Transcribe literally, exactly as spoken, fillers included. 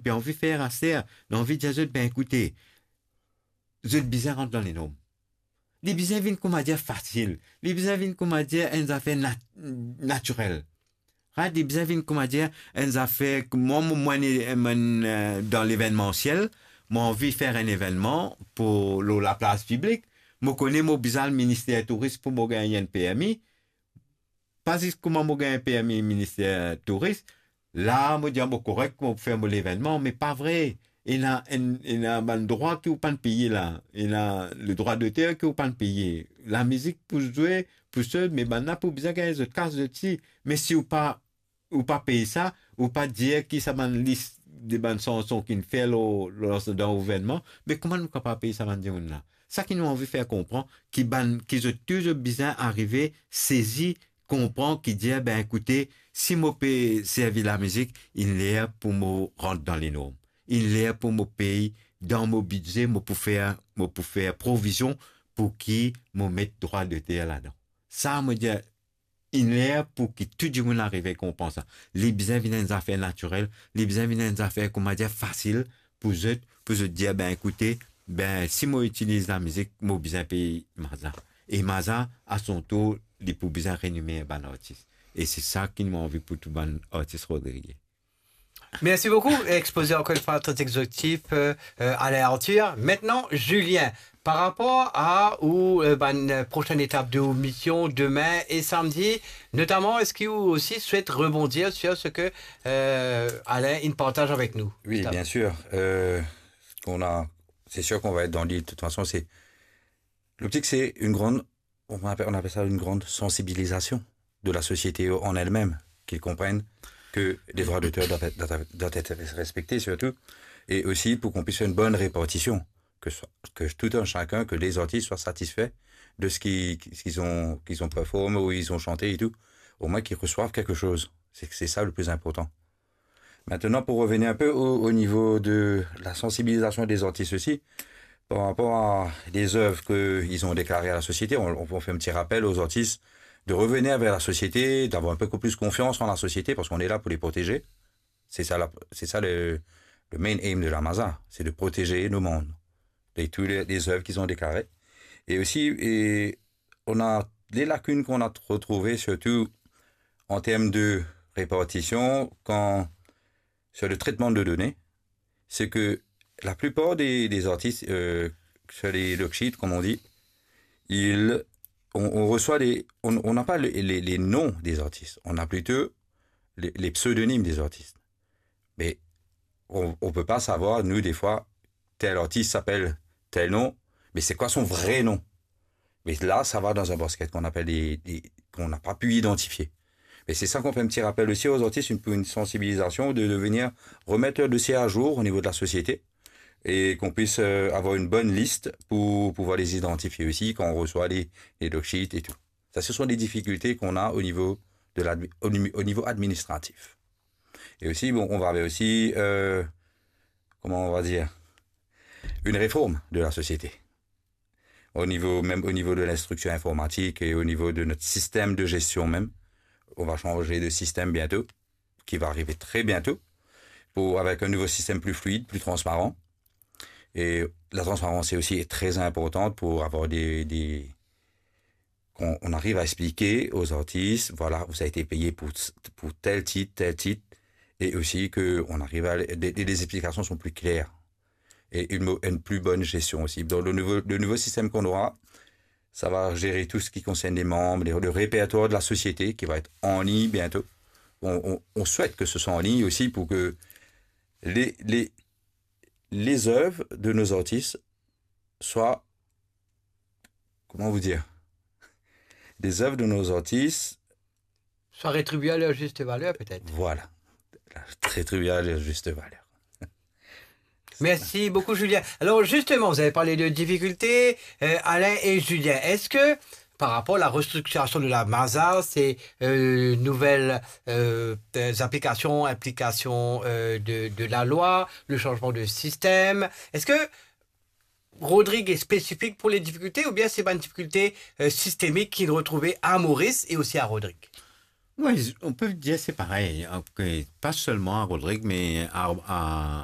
pe anvi fer aster, nou anvi dir zot, ben ekoute, zot bizin rant dan lenorm. Li bizin vinn, koumadir, fasil. Li bizin vinn, koumadir, enn zafer nat-, natirel. Right? Li bizin vinn, koumadir, enn zafer, mwa, mwa, mwa, enn, enn, eh, dan levennmansiel, mwa anvi fer enn evennman pou, lor laplas piblik, mo kone mo bizin al Minister Touris pou mo gagn enn permi, pa zis kouma mo gagn permi Minister Touris, la mo dir, ah, mo korek, mo pou fer mo levennman, me pa vre. Ena enn, ena bann drwa ki ou pa'nn peye la, ena ledrwa doter ki ou pa'nn peye. Lamizik pou zwe, pou sot, me bann la pou bizin gagn zot kas, zot si. Me si ou pa, ou pa pey sa, ou pa dir ki sa bann lis de bann sanson ki'nn fer lor, lor, dan ou evennman, me kouma nou kapav pey sa bann dimoun la? Sa ki nou anvi fer konpran, ki bann, ki zot tou zot bizin arive sezi, konpran, ki dir, ben ekoute, si mo pe servi lamizik, inn ler pou mo rant dan lenorm. Inn ler pou mo pey dan mo bidze, mo pou fer, mo pou fer provizion pou ki mo met drwa doter ladan. Sa mo dir, inn ler pou ki tou dimoun arive konpran sa. Li bizin vinn enn zafer natirel, li bizin vinn enn zafer, koumadir, fasil pou zot, pou zot dir, ben ekoute, ben si mo itiliz lamizik, mo bizin pey maza. E maza, a son tour, li pou bizin renome bann artis. E se sa ki mo anvi pou tou bann artis rodrigien. Merci beaucoup, exposé encore une fois très exhaustif, euh, euh, Alain Arthur. Maintenant, Julien, par rapport à ou, euh, ben, euh, prochaine étape de ou mission demain et samedi, notamment, est-ce que vous aussi souhaitez rebondir sur ce que, euh, Alain, il partage avec nous? Oui, justement. Bien sûr. Euh, on a, c'est sûr qu'on va être dans l'île. De toute façon, c'est, l'optique, c'est une grande, on appelle, on appelle ça une grande sensibilisation de la société en elle-même, qu'ils comprennent que les droits d'auteur doivent être, doivent être, doivent être respectés surtout, et aussi pour qu'on puisse faire une bonne répartition, que, so-, que tout un chacun, que les artistes soient satisfaits de ce qui, ce qu'ils ont, qu'ils ont performé ou ils ont chanté et tout, au moins qu'ils reçoivent quelque chose. C'est, c'est ça le plus important. Maintenant, pour revenir un peu au, au niveau de la sensibilisation des artistes aussi, par rapport à des œuvres qu'ils ont déclarées à la société, on, on fait un petit rappel aux artistes de revenir vers la société, d'avoir un peu plus confiance en la société, parce qu'on est là pour les protéger. C'est ça la, c'est ça le, le main aim de la Maza, c'est de protéger nos membres et toutes les, les œuvres qu'ils ont déclarées. Et aussi, et on a des lacunes qu'on a retrouvées, surtout en termes de répartition, quand, sur le traitement de données, c'est que la plupart des, des artistes, euh, sur les looksheets, comme on dit, ils, on, on reçoit les, on, on n'a pas les, les, les noms des artistes, on a plutôt les, les pseudonymes des artistes. Mais on, on peut pas savoir, nous, des fois, tel artiste s'appelle tel nom, mais c'est quoi son vrai nom? Mais là, ça va dans un basket qu'on appelle des, des, qu'on n'a pas pu identifier. Mais c'est ça qu'on fait un petit rappel aussi aux artistes, une, pour une sensibilisation, de, de venir remettre leur dossier à jour au niveau de la société et qu'on puisse, euh, avoir une bonne liste pour pouvoir les identifier aussi quand on reçoit les, les looksheets et tout. Ça, ce sont des difficultés qu'on a au niveau de l'admi-, au nimi-, au niveau administratif. Et aussi, bon, on va avoir aussi, euh, comment on va dire, une réforme de la société. Au niveau, même au niveau de l'instructure informatique et au niveau de notre système de gestion même, on va changer de système bientôt, qui va arriver très bientôt, pour, avec un nouveau système plus fluide, plus transparent. Et la transparence est aussi très importante pour avoir des, des, qu'on, on arrive à expliquer aux artistes, voilà, vous avez été payé pour, pour tel titre, tel titre, et aussi que on arrive à, des, des explications sont plus claires et une, mo-, une plus bonne gestion aussi. Donc le nouveau, le nouveau système qu'on aura, ça va gérer tout ce qui concerne les membres, les, le répertoire de la société qui va être en ligne bientôt. On, on, on souhaite que ce soit en ligne aussi pour que les, les, les œuvres de nos artistes soient, comment vous dire, les œuvres de nos artistes soient rétribuées à leur juste valeur, peut-être. Voilà. Rétribuées à leur juste valeur. Merci beaucoup, Julien. Alors, justement, vous avez parlé de difficultés, euh, Alain et Julien. Est-ce que, par rapport à la restructuration de la Maza, ces, euh, nouvelles, euh, euh, applications, implications, euh, de, de la loi, le changement de système, est-ce que Rodrig est spécifique pour les difficultés ou bien c'est une difficulté, euh, systémique qu'il retrouvait à Maurice et aussi à Rodrig? Oui, on peut dire c'est pareil, hein, que pas seulement à Rodrig, mais à, à,